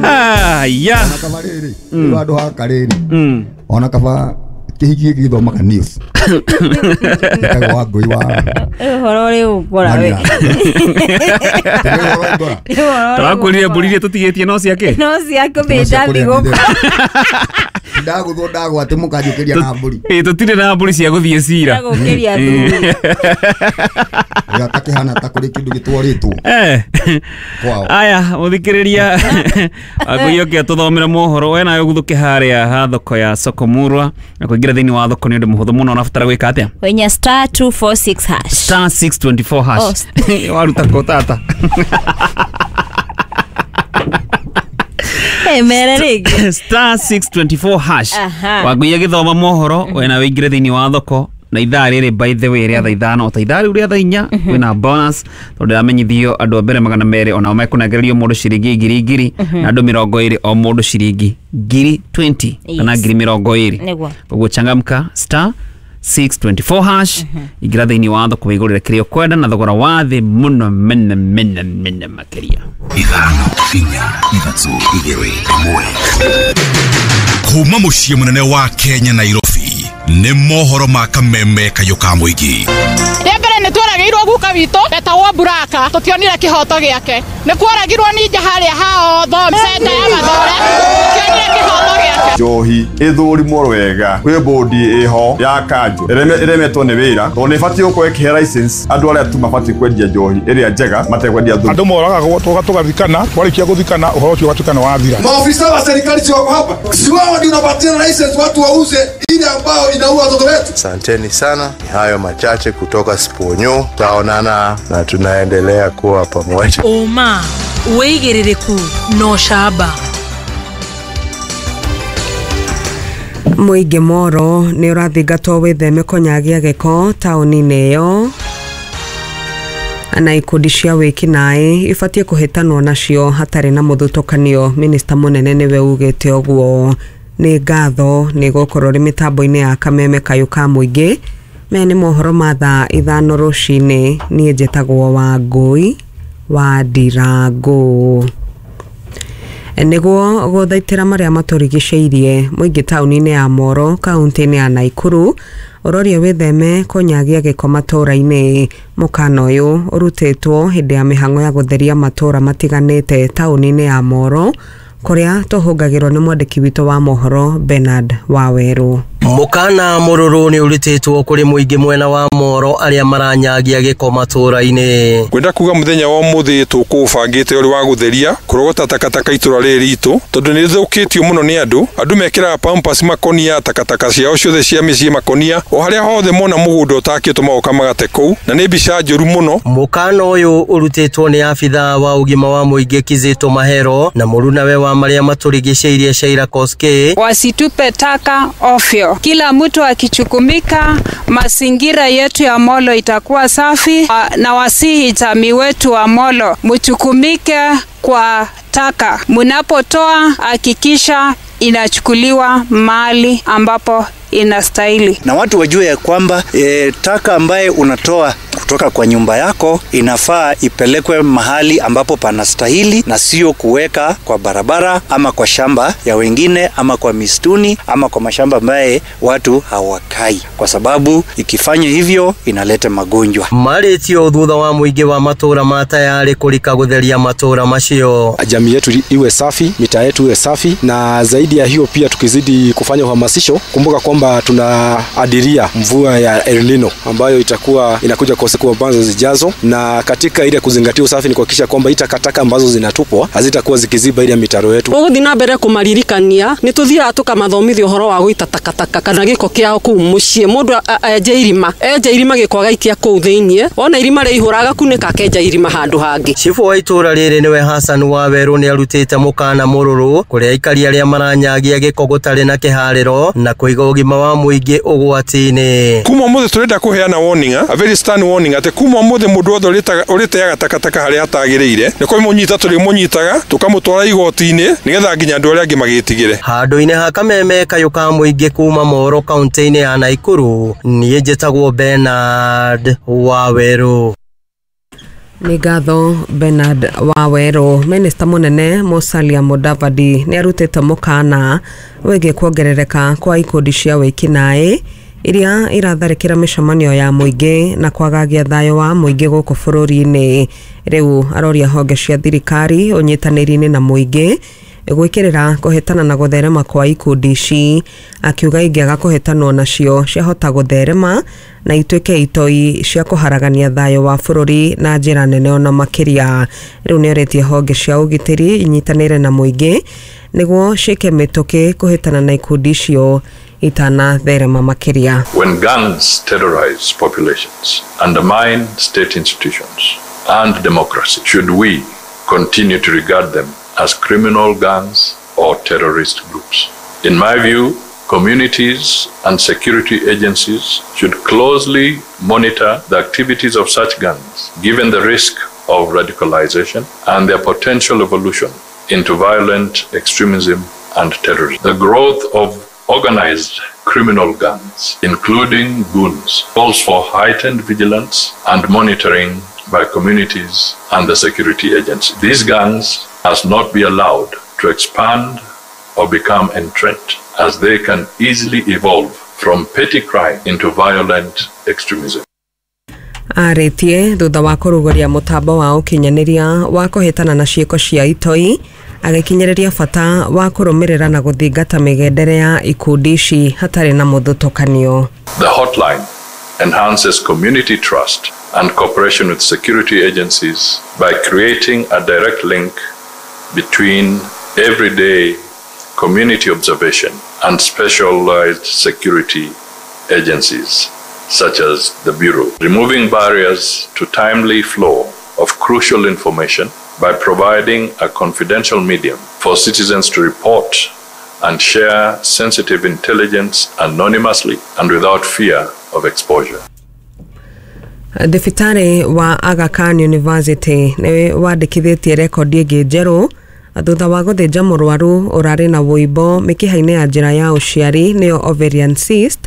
Aya. Ona kaba rĩrĩ, rĩu handũ haka rĩrĩ, ona kaba kĩhiki gĩkĩ gĩthomaga news. Gĩtagwo wa ngũi wa Ũhoro ũrĩ ũkora we. Tũrakwĩrire mbũri iria tũtigĩtie no ciake. No ciake mĩnda thigũkũ. Ndagũthwo ndagwa atĩ mũkanjũkĩria na mbũri. Ĩ tũtirĩ na mbũri cia gũthiĩ cira. Gũkĩria thuri. Gakĩhana ta kũrĩ kĩndũ gĩtwarĩtwo. Kwao. Aya, mũthikĩrĩria Wangũi oke atũthomere mohoro we nawe ũguthũke harĩa ha thoko ya Sokomurwa na kũingĩra thĩinĩ wa thoko nĩ ũndũ mũhũthũ mũno ũrabatara gwĩka atĩa? Wenya star 246 hash. Star 624 hash. Waruta kũ tata? Hey, mere rĩngĩ. Star 624 hash. Aha. Wangũi agĩthoma mohoro we nawe ũingĩre thĩinĩ wa thoko na ithaa rĩrĩ by the way rĩa thaa 5 o ta ithaa rĩu rĩa thaa 4 kwĩna bonus tondũ ndĩramenyithio andũ a mbere 200 onao mekũnengererio mũndũ ciringi 1,000 na andũ 20 o mũndũ ciringi 20,000 kana Yes. 20,000. Nĩguo. Koguo changamka star 624 hash ingĩra thĩinĩ wa thoko wĩgũrĩre kĩrĩa ũkwenda na thogora wa thĩ mũno mene mene mene makĩria. 5 4 3 2 1. Kuma mũciĩ mũnene wa Kenya Nairobi nĩ mohoro ma kameme kayũ ka mũingĩ. Rĩa mbere nĩ tworagĩirwo guka witũ etagwo Buraka tũtionire kĩhoto gĩake. Nĩ kworagirwo ninja harĩa hao centa ya Mathore tũtionire kĩhoto gĩake. Njohi ĩthũrimwo wega kwĩ bodi ĩho ya kanjũ ĩremetwo nĩ wĩra tondũ nĩ ĩbatiĩ gũkorwo ĩkĩhe license andũ arĩa tu mabatiĩ kwendia njohi ĩrĩa njega matekwendia thumu. Andũ moragagwo tũgathikana, twarĩkia gũthikana ũhoro ũcio ũgatuĩka nĩ wathira. Maofisa wa serikali si wako hapa, si wao ndio unapatia license watu wauze ile ambayo inaua watoto wetu. Asanteni sana, ni hayo machache kutoka Sponyo. Tutaonana na tunaendelea kuwa pamoja. Ũma, wĩigĩrĩrĩku na ũcamba. Mũingĩ Moro nĩ ũrathingatwo wĩtheme kũnyagia gĩko taũni-inĩ ĩyo na ikundi cia wĩkinaĩ ibatiĩ kũhĩtanwo nacio hatarĩ na mũthutũkanio. Minista mũnene nĩwe ugĩte ũguo. Nĩ ngatho nĩ gũkorwo rĩ mĩtambo-inĩ ya kameme kayũ ka mũingĩ. Maya nĩ mohoro ma thaa 5 rũcinĩ. Niĩ njĩtagwo Wangũi wa Ndirangũ. Nĩguo gũthaitĩra marĩa matũrigicĩirie mũingĩ taũni-inĩ ya Moro kaunti-inĩ ya Naikuru ũroria wĩtheme kũnyagia gĩko matũũra-inĩ. Mũkana ũyũ ũrutĩtwo hĩndĩ ya mĩhang'o ya gũtheria matũũra matiganĩte taũni-inĩ ya Moro kũrĩa tũhũngagĩrwo nĩ mwandĩki witũ wa mohoro Bernard Wawerũ. Mũkana mũrũrũ nĩ ũrutĩtwo kũrĩ mũingĩ mwena wa Moro arĩa maranyagia gĩko matũũra-inĩ. Kwenda kuga mũthenya wa ũmũthĩ tũkũũbangĩte ũrĩ wa gũtheria kũrogota takataka itũra rĩrĩ ritũ tondũ nĩ rĩthũkĩtio mũno nĩ andũ. Andũ mekĩraga pampers makonia takataka ciao ciothe cia mĩciĩ makonia o harĩa hothe mona mũgũnda ũtakĩtwo magoka magate kũu na nĩ mbica njũru mũno. Mũkana ũyũ ũrutĩtwo nĩ abithaa wa ũgima wa mũingĩ Kizito Mahero na mũrunawe wa marĩa matũrigicĩirie Shaira Koskei. Wasitupe taka ovyo. Kila mtu akichukumika, mazingira yetu ya Molo itakuwa safi. Na wasihi jamii wetu wa Molo, mchukumike kwa taka. Mnapotoa hakikisha inachukuliwa mahali ambapo inastahili. Na watu wajue ya kwamba taka ambaye unatoa kutoka kwa nyumba yako inafaa ipelekwe mahali ambapo panastahili na sio kuweka kwa barabara ama kwa shamba ya wengine ama kwa mistuni ama kwa mashamba ambaye watu hawakai, kwa sababu ikifanya hivyo inaleta magonjwa. Marĩtio thutha wa mũingĩ wa matũũra ma tayarĩ kũrika gũtheria matũũra macio. Jamii yetu iwe safi, mitaa yetu iwe safi, na zaidi ya hiyo pia tukizidi kufanya uhamasisho, kumbuka kwamba tunaadiria mvua ya El Nino ambayo itakuwa inakuja kwa siku ambazo zijazo, na katika ile kuzingatia usafi ni kuhakikisha kwamba takataka ambazo zinatupwa hazitakuwa zikiziba ile mitaro yetu. Ũgũthiĩ na mbere kũmaririkania nĩ tũthiaga tũkamathomithia ũhoro wa gũita takataka kana gĩko kĩao kũu mũciĩ. Mũndũ enje irima, enje irima gĩko agaikia kũu thĩiniĩ, wona irima rĩaihũra agakunĩka akenja irima handũ hangĩ. Chifu wa itũũra rĩrĩ nĩwe Hassan Wawerũ nĩ arutĩte mũkana mũrũrũ kũrĩ aikari arĩa maranyagia gĩko gũtarĩ na kĩharĩro na kũiga ũgima wa mũingĩ ũgwati-inĩ. Kuma ũmũthĩ tũrenda kũheana warning, a very stern warning atĩ kuma ũmũthĩ mũndũ wothe ũrĩteaga takataka harĩa hatagĩrĩire nĩ kũmũnyita tũrĩmũnyitaga tũkamũtwara igoti-inĩ nĩgetha nginya andũ arĩa angĩ magĩtigĩre. Handũ-inĩ ha kameme kayũ ka mũingĩ kuma Moro kaunti-inĩ ya Naikuru, niĩ njĩtagwo Bernard Wawerũ. Nĩ ngatho Bernard Wawerũ. Minista mũnene Musalia Mudavadi nĩ arutĩte mũkana wĩgiĩ kuongerereka kwa ikundi cia wĩkinaĩ iria iratharĩkĩra mĩcemanio ya mũingĩ na kwagagia thayũ wa mũingĩ gũkũ bũrũri-inĩ. Rĩu aroria honge cia thirikari ũnyitanĩri-inĩ na mũingĩ gwĩkĩrĩra kũhĩtana na gũtherema kwa ikundi ici, akiuga ingĩaga kũhĩtanwo nacio ciahota gũtherema na ituĩke itoi cia kũharagania thayũ wa bũrũri na njĩra nene ona makĩria. Rĩu nĩorĩtie honge cia ũgitĩri inyitanĩre na mũingĩ nĩguo ciĩke mĩtũkĩ kũhĩtana na ikundi icio itanatherema makĩria. When gangs terrorize populations, undermine state institutions and democracy, should we continue to regard them as criminal gangs or terrorist groups? In my view, communities and security agencies should closely monitor the activities of such gangs, given the risk of radicalization and their potential evolution into violent extremism and terrorism. The growth of organized criminal gangs, including goons, calls for heightened vigilance and monitoring by communities and the security agencies. These gangs must not be allowed to expand or become entrenched, as they can easily evolve from petty crime into violent extremism. Arĩtie thutha wa kũrugũria mũtambo wa ũkinyanĩria wa kũhĩtana na ciĩko cia itoi, agĩkinyĩrĩria bata wa kũrũmĩrĩra na gũthingata mĩgendere ya ikundi ici hatarĩ na mũthutũkanio. The hotline enhances community trust and cooperation with security agencies by creating a direct link between everyday community observation and specialized security agencies such as the Bureau, removing barriers to timely flow of crucial information by providing a confidential medium for citizens to report and share sensitive intelligence anonymously and without fear of exposure. Thibitarĩ wa Aga Khan University nĩ wandĩkithĩtie rekondi ĩngĩ njerũ thutha wa gũthĩnja mũrwaru ũrarĩ na wũimbo mĩkiha-inĩ ya njĩra ya ũciari nĩyo ovarian cyst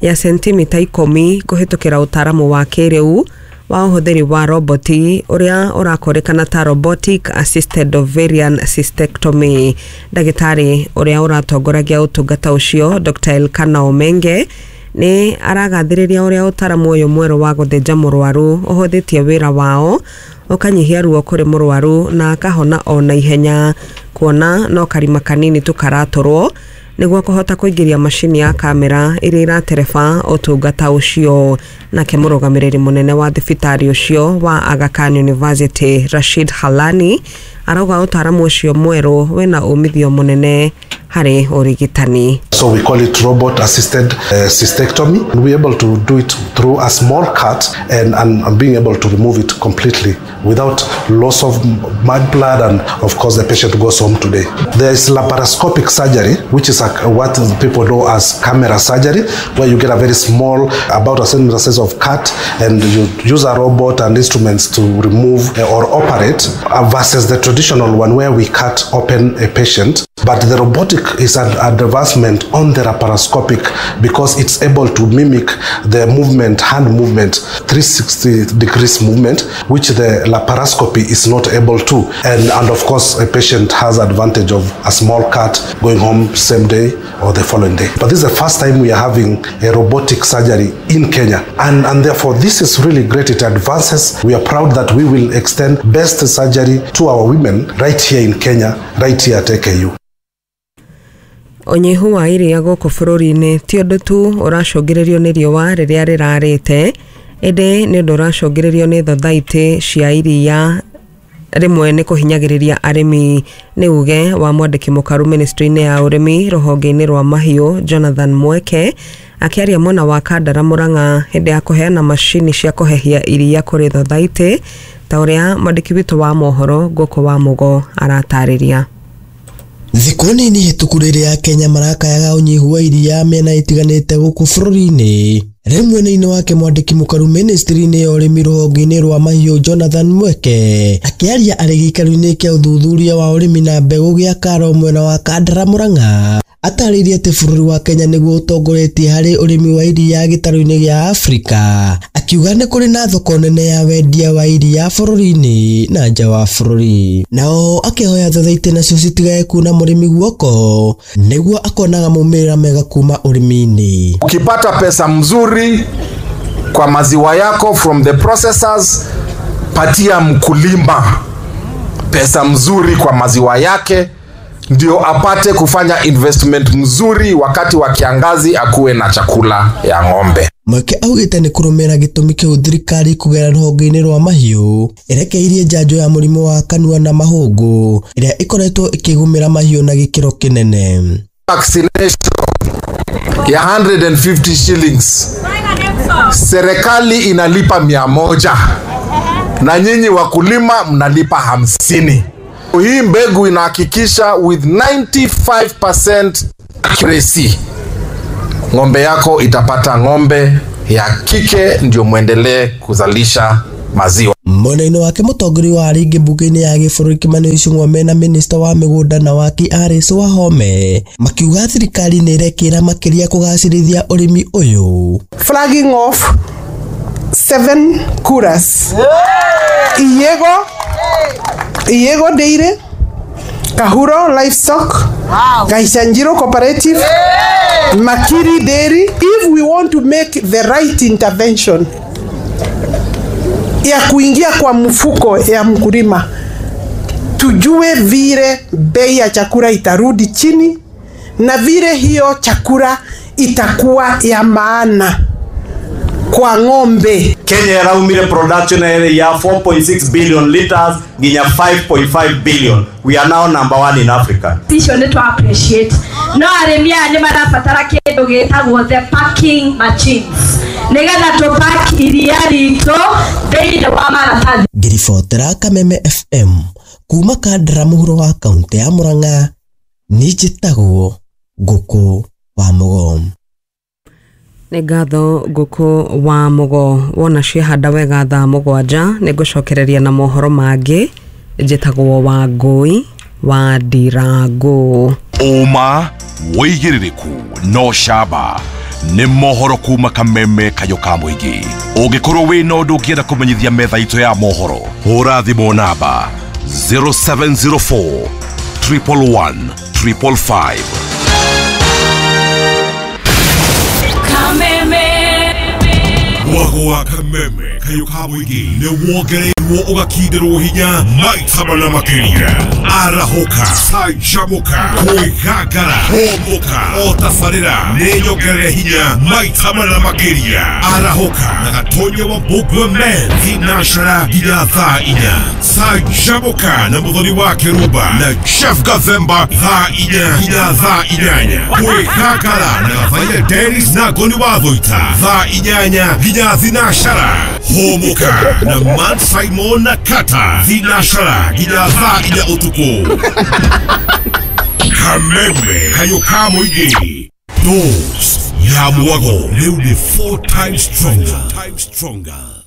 ya sentimita 10 kũhĩtũkĩra ũtaaramu wa kĩrĩu wa ũhũthĩri wa roboti ũrĩa ũrakũrĩkana ta robotic assisted ovarian cystectomy. Ndagĩtarĩ ũrĩa ũratongoragia ũtungata ũcio Dr. Elkana Omenge nĩ aragathĩrĩria ũrĩa ũtaramu ũyũ mwerũ wa gũthĩnja mũrwaru ũhũthĩtie wĩra wao ũkanyihia ruo kũrĩ mũrwaru na akahona o na ihenya, kuona no karima kanini tu karatũrwo nĩguo kũhota kũingĩria macini ya kamera ĩrĩa ĩratereba ũtungata ũcio. Nake mũrũgamĩrĩri mũnene wa thibitarĩ ũcio wa Aga Khan University Rashid Halani arauga ũtaramu ũcio mwerũ wĩna umithio mũnene harĩ ũrigitani. So we call it robot assisted cystectomy. We're able to do it through a small cut and being able to remove it completely without loss of blood, and of course the patient goes home today. There is laparoscopic surgery, which is what people know as camera surgery, where you get a very small, about a centimeter size of cut, and you use a robot and instruments to remove or operate, versus the traditional one where we cut open a patient. But the robotic is an advancement on the laparoscopic because it's able to mimic the movement, hand movement, 360 degrees movement, which the laparoscopy is not able to. And of course, a patient has advantage of a small cut going home same day or the following day. But this is the first time we are having a robotic surgery in Kenya. And therefore, this is really great. It advances. We are proud that we will extend best surgery to our women right here in Kenya, right here at AKU. Ũnyihu wa iria gũkũ bũrũri-inĩ ti ũndũ tu ũracũngĩrĩrio nĩ riũa rĩrĩa rĩrarĩte, ĩndĩ nĩ ũndũ ũracũngĩrĩrio nĩ thothaitĩ cia iria rĩmwe nĩ kũhinyagĩrĩria arĩmi. Nĩ uge wa mwandĩki mũkaru ministry-inĩ ya ũrĩmi rũhonge-inĩ rwa mahiũ Jonathan Mweke akĩaria mwena wa Kandara Murang'a hĩndĩ ya kũheana macini cia kũhehia iria kũrĩ thothaitĩ, ta ũrĩa mwandĩki witũ wa mohoro Ngũkũ wa Mũgo aratarĩria. Thikũ nini hĩtũku rĩrĩa Kenya marakayaga ũnyihu wa iria mĩena ĩtiganĩte gũkũ bũrũri-inĩ. Rĩu mwena-inĩ wake mwandĩki mũkaru ministry-inĩ ya ũrĩmi rũhonge-inĩ rwa mahiũ Jonathan Mweke akĩaria arĩ gĩikaro-inĩ kĩa ũthuthuria wa ũrĩmi na mbegũ gĩa Karo mwena wa Kandara Murang'a Atarĩirie atĩ bũrũri wa Kenya nĩguo ũtongoretie harĩ ũrĩmi wa iria gĩtarũ-inĩ gĩa Afrika, akiuga nĩ kũrĩ na thoko nene ya wendia wa iria bũrũri-inĩ na nja wa bũrũri. Nao akĩhoya thothaitĩ nacio citigae kuna mũrĩmi guoko nĩguo akonaga maumĩrĩra mega kuma ũrĩmi-inĩ. Ukipata pesa mzuri kwa maziwa yako from the processors, patia mkulima pesa mzuri kwa maziwa yake ndio apate kufanya investment mzuri wakati wa kiangazi, akuwe na chakula ya ng'ombe. Mweke augĩte nĩ kũrũmĩrĩra gĩtũmi kĩu thirikari kũgerera rũhonge-inĩ rwa mahiũ ĩrekeirie njanjo ya mũrimũ wa kanua na mahũngũ ĩrĩa ĩkoretwo ĩkĩgũmĩra mahiũ na gĩkĩro kĩnene. Vaccination ya 150 shillings, serikali inalipa 100 na nyinyi wakulima mnalipa 50. Hii mbegu inahakikisha with 95% accuracy ng'ombe yako itapata ng'ombe ya kike ndio muendelee kuzalisha maziwa. Mwena-inĩ wake mũtongoria wa arĩa aingĩ mbunge-inĩ ya gĩbũrũri Kimani Ichung'wa mena minista wa mĩgũnda na waki Alice Wahome makiuga thirikari nĩ ĩrekĩra makĩria kũgacĩrithia ũrĩmi ũyũ. Flagging off 7 kuras. Iyego Dairy, Kahuro Livestock, Gaichanjiro Cooperative, Makiri Dairy. If we want to make the right intervention ya kuingia kwa mfuko ya mkulima, tujue vile bei ya chakula itarudi chini na vile hiyo chakula itakuwa ya maana kwa ng'ombe. Kenya iraumire production ya 4.6 billion liters nginya 5.5 billion. We are now number 1 in Africa. Icio nĩ twa appreciate. No arĩmi aya nĩ marabatara kĩndũ gĩtagwo the packing machines nĩgetha tũpack iria ritũ thĩinĩ wa maratathi. Ngĩribotera Kameme FM kuma Kandara mũhuro wa kaunti ya Murang'a, niĩ njĩtagwo Ngũkũ wa Mũgo. Nĩ ngatho Ngũkũ wa Mũgo. Wona ciahanda wega thaa 7 nĩ ngũcokereria na mohoro mangĩ. Njĩtagwo Wangũi wa Ndirango. Ũma wĩigĩrĩrĩku no camba nĩ mohoro kuma Kameme kayũ ka mũingĩ. Ũngĩkorwo wĩna ũndũ ũngĩenda kũmenyithia metha itũ ya mohoro, hũra thimũ namba 0704 111 555. Mwago wa Kameme kayũ ka mũingĩ nĩ wongereirwo ũgakinderwo hinya maita mana makĩria. Arahũka, canjamũka, kwĩgangara, hũmũka, o tabarĩra nĩ nyongerere hinya maita mana makĩria. Arahũka na Gatonya wa Mbũgua Men thinashara nginya thaa 4. Canjamũka na Mũthoni wa Kĩrumba na Jeff Gathemba thaa 4 nginya thaa 8. Kwĩgangara na Gathaia Dennis na Ngoni wa Thũita thaa 8 nginya thinashara. Hũmũka na Matt Simon na Kata thinashara nginya thaa 4 ũtukũ. Kameme kayũ ka mũingĩ. Dose ya mwago rĩu nĩ 4 times stronger.